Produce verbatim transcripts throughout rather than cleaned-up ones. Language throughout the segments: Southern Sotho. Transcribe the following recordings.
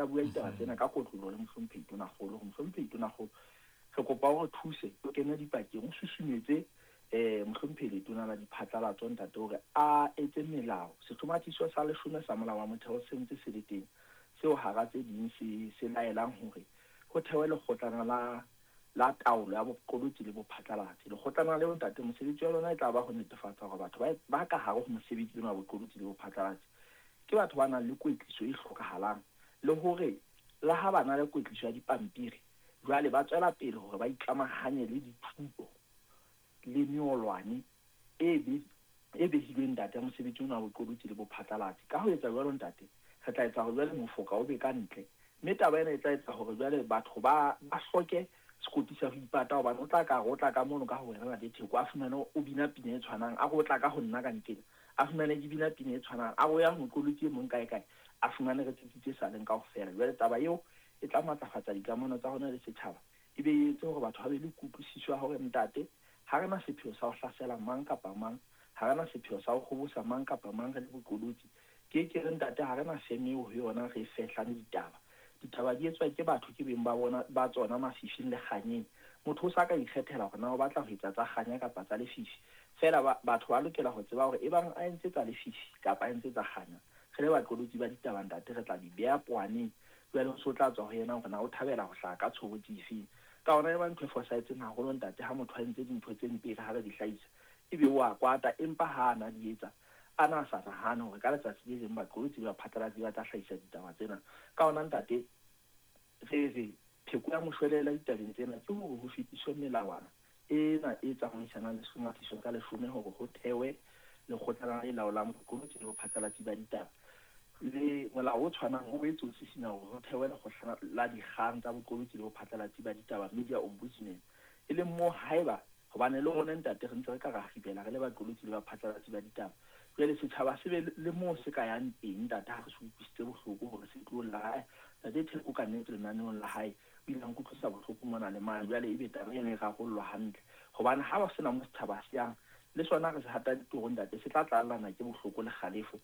Bua ditaba tsena ka kotloloho le Mohlomphehi Tonakgolo hore Mohlomphehi Tonakgolo, re kopa o re thuse, o kene dipakeng, o susumetse um Mohlomphehi Letona la Diphatlalatso ntate hore a etse melao. Sehlomathiso sa leshome sa molao wa motheo se ntse se le teng, seo hara tse ding se se laelang hore ho thewe lekgotlana la la taolo ya boqolotsi le bophatlalatsi. Lekgotlana leo ntate, mosebetsi wa lona e tla ba ho netefatsa hore batho ba ba ka hare ho mosebetsi ona wa boqolotsi le bophatlalatsi ke batho ba nang le kwetliso e hlokahalang, le hore le ha ba na le kwetliso ya dipampiri, jwale ba tswela pele hore ba ikamahanye le dithuto le meolwane e be e behilweng ntate ya mosebetsi ona wa boqolotsi le bophatlalatsi. Ka ho etsa jwalo ntate, re tla etsa hore jwale mofoka o be ka ntle, mme taba ena e tla etsa hore jwale batho ba ba hloke sekoti sa ho ipata, hobane o tla ka re o tla ka mono ka ho wena ntate Theko, a fumane o bina pina e tshwanang, a re o tla ka ho nna ka nkena, a fumane ke bina pina e tshwanang, a re o ya ho moqolotsi e mong kae kae, a fumane re tsitsitse sa leng kaofela. Jwale taba eo e tla matlafatsa dikamano tsa rona le setjhaba, e be e etse hore batho ba be le kutlwisiso ya hore ntate, ha re na sepheo sa ho hlasela mang kapa mang, ha re na sepheo sa ho kgobosa mang kapa mang re le boqolotsi. Ke ke re ntate, ha re na feme eo ho yona re fehlang ditaba. Ditaba di etswa ke batho, ke beng ba bona ba tsona mafifing le kganyeng. Motho o sa ka ikgethela hore na o batla ho etsa tsa kganya kapa tsa lefifi. Feela ba, batho ba lokela ho tseba hore ebang a entse tsa lefifi kapa a entse tsa kganya, re le baqolotsi ba ditaba ntate, re tla di beha poaneng. Jwale ho so tla tswa ho yena hore na o thabela ho hlaha ka tshobotsi efeng. Ka hona e ba ntho e fosahetseng haholo ntate, ha motho a entse dintho tse mpe re ha re di hlahisa, ebe o a kwata, empa ha a na di etsa a na sa nahane hore ka letsatsi le leng baqolotsi ba phatlalatsi ba tla hlahisa ditaba tsena. Ka hona ntate, re re pheko ya moshwelella ditabeng tsena ke hore ho fetiswe melawana ena e tsamaisanang le sehlomathiso sa leshome hore ho thewe lekgotla le laolang boqolotsi le bophatlalatsi ba ditaba. Le molao o tshwanang o boetse o sisinya hore ho thewe lekgotla la dikgang tsa boqolotsi le bophatlalatsi ba ditaba, Media Ombudsman, e leng moo haeba hobane le rona ntate re ntse re ka ra kgibela re le baqolotsi le baphatlalatsi ba ditaba, jwale setjhaba se be le moo se ka yang teng ntate, ha re se utlwisitse bohloko hore se tlo lla, "Ai, ntate Theko ka nnete lenaneong la hae o ile a nkutlwisa bohloko mona le mane." Jwale ebe taba ena e rarollwa hantle, hobane ha ba sena mo setjhaba se yang le sona, re se hata ditoro ntate, se tla tlallana ke bohloko le kgalefo,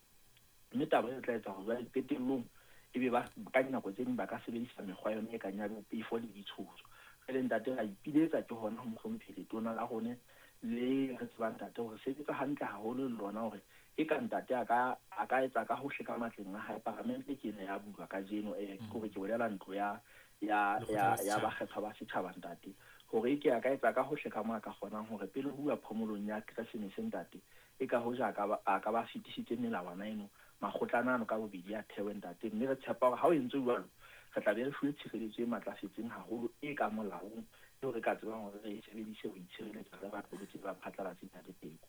mme taba e tla etsa hore jwale qetellong ebe ba ka dinako tse ding ba ka sebedisa mekgwa yona e kang ya bopefo le ditshoso. Jwale ntate, ra ipiletsa ke hona ho Mohlomphehi Letona la rona le re tsebang ntate hore sebetsa hantle haholo le lona, hore e ka ntate a ka a ka etsa ka hohle ka matleng a hae. Paramente ke ena ya bulwa kajeno, eh ke hore ke bolela ntlo ya ya ya ya bakgethwa ba setjhaba ntate, hore e ke a ka etsa ka hohle ka mo a ka kgonang hore pele ho uwa phomolong ya Keresemese ntate, e ka hoja a ka ba a ka ba fetisitse melawana eno, makgotlana ano ka bobedi a thewe ntate. Mme re tshepa hore ha o entswe jwalo, re tla be re fuwe tshireletso e matlafetseng haholo e ka molaong, eo re ka tsebang hore re e sebedise ho itshireletsa re baqolotsi ba phatlalatsi ntate Teko.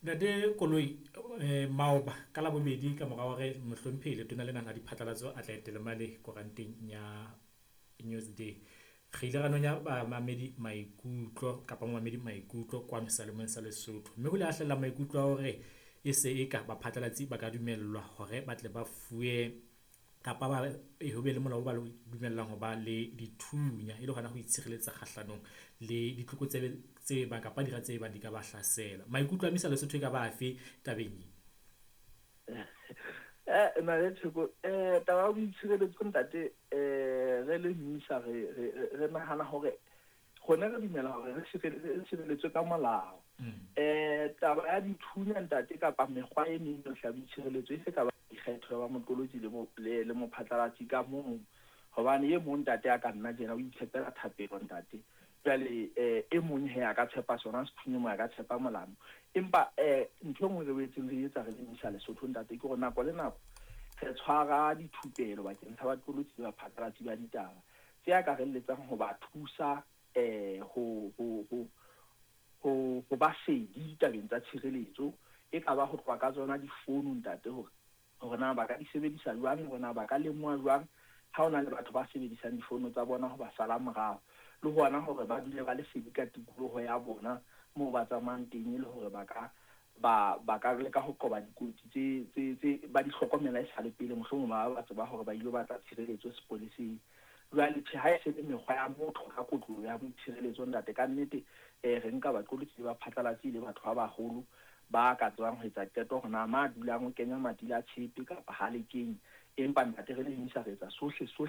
Ntate Koloi, eh, maoba ka Labobedi, ka mora hore Mohlomphehi Letona lena la Diphatlalatso a tla etele mane koranteng ya Newsday, re ile ra nonya bamamedi maikutlo kapa momamedi maikutlo kwano Seyalemoyeng sa Lesotho, mme ho ile ha hlahella maikutlo a hore e se e ka baphatlalatsi ba ka dumellwa hore ba tle ba fuwe kapa ba ho be le molao o ba dumellang ho ba le dithunya, e le hona ho itshireletsa kgahlanong le ditlokotsebe tse bang kapa dira tse bang di ka ba hlasela. Maikutlo a Misa Lesotho e ka ba afe tabeng e? Eh ntate Theko, eh taba ya boitshireletso ntate, eh re le Misa re re re nahana hore rona re dumela hore re sireletswe ka molao. Eh taba ya dithunya ntate kapa mekgwa e meng yohle ya boitshireletso e se ka ba dikgetho ya ba moqolotsi le le le mophatlalatsi ka mong, hobane e mong ntate a ka nna tjena o itshepela thapelo ntate, jwale eh e mong he a ka tshepa sona sethunya, mo a ka tshepa molamo. Empa eh ntho e nngwe re boetseng re etsa re le Misa Lesotho ntate ke hore nako le nako re tshwara dithupelo bakeng sa baqolotsi le baphatlalatsi ba ditaba tse akarelletsang ho ba thusa eh ho ho ho ho ho ba sedi ditabeng tsa tshireletso, e ka ba ho tloha ka tsona difounu ntate, hore hore na ba ka di sebedisa jwang, hore na ba ka lemoha jwang ha hona le batho ba sebedisang difounu tsa bona ho ba sala morao, le hona hore ba dule ba le sedi ka tikoloho ya bona moo ba tsamayang teng, e le hore ba ka ba ba ka leka ho qoba dikotsi tse tse tse ba di hlokomela e sa le pele, mohlomong ba ba tseba hore ba ile batla tshireletso sepoleseng. Jwale tjhe, ha e se le mekgwa ya motho ka kotloloho ya boitshireletso ntate, ka nnete eh re nka baqolotsi ba phatlalatsi le batho ba baholo ba ka tsebang ho etsa qeto hore na ma dulang o kenya matila a tshepe kapa ha le kenye. Empa ntate re le Misa re etsa sohle sohle